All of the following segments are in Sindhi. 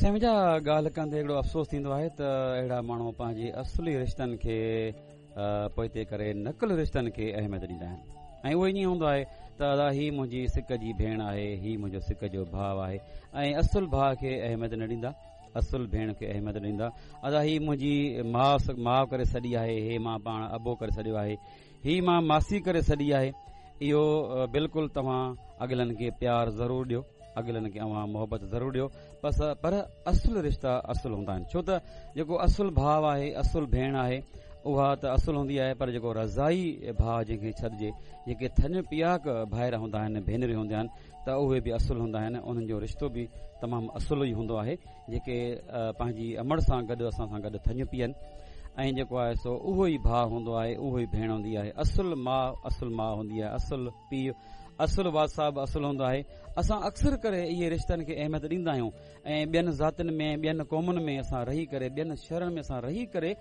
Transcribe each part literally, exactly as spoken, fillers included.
سمجها ڳالهه ڪندي هڪڙو افسوس ٿيندو آهي ته اهڙا ماڻهو پنهنجي اصلي رشتن کي پوئتي ڪري نقل رشتن کي اهميت ڏيندا آهن ۽ اهو ائين هوندو آهي ته ادا هي منهنجي سڪ جي ڀيڻ آهي، هي منهنجو سڪ جو ڀاءُ آهي ۽ اصل ڀاءُ کي اهميت نه ڏيندا، اصل ڀيڻ کي اهميت ڏيندا. ادا هي منهنجي ماءُ ماءُ ڪري سڏي آهي، هي مان پاڻ ابو ڪري سڏيو آهي، هي مان ماسي ڪري سڏي آهي. اهو بلڪل توهان اڳلن کي پيار ضرور ڏيو، اڳلن کي اوهان محبت ضرور ڏيو، بس پر اصل رشتا اصل هوندا آهن. ڇو ته جيڪو اصل ڀاءُ آهي، اصل ڀيڻ آهي، اها ته اصل هوندي آهي، پر جيڪو رضائي ڀاءُ جنهن کي ڇڏجي، جيڪي ٿڃ پياڪ ڀائر هوندا آهن، ڀينريون هونديون آهن، ته اهي به اصل هوندا آهن. انهن جو رشتو به تمام اصل ئي هوندو آهي، جيڪي پنهنجي امڙ سان گڏ اسان سان گڏ ٿڃ پيئن ۽ جيڪو آهي سو اهو ئي ڀاءُ هوندو آهي، اهو ئي ڀيڻ هوندي آهي. اصل ماءُ اصل ماءُ هوندي آهي، اصل پيءُ اصل والد صاحب اصل هوندو آهي. اسان اڪثر ڪري اهي رشتن کي اهميت ڏيندا آهيون ۽ ٻين ذاتين ۾ ٻين قومن ۾ اسان رهي ڪري، ٻين شهرن ۾ اسان رهي ڪري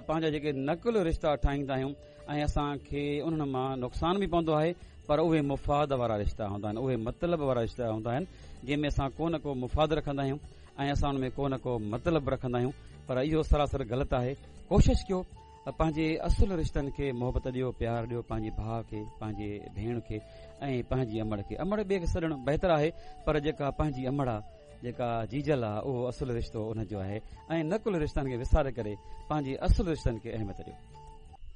پنهنجا جيڪي نقل رشتا ٺاهيندا آهيون ۽ اسان کي انهن مان نقصان به پوندو آهي، پر اهي مفاد وارا رشتا هوندا آهن، اهي مطلب وارا رشتا هوندا آهن، جنهن ۾ اسان ڪو نه ڪو مفاد رکندا آهيون ۽ اسان ان ۾ ڪو نه ڪو مطلب رکندا آهيون، پر اهو سراسر غلط آهي. ڪوشش ڪيو پنهنجي اصل رشتن کي محبت ڏيو، پيار ڏيو، پنهنجي ڀاءُ کي، پنهنجي ڀيڻ کي ۽ پنهنجي امڙ کي. امڙ ٻئي کي سڏڻ بهتر آهي، پر جيڪا پنهنجي امڙ آهي، جيڪا جيجل آهي، اهو اصل رشتو ان جو آهي ۽ نقل رشتن کي وساري ڪري پنهنجي اصل رشتن کي اهميت ڏيو.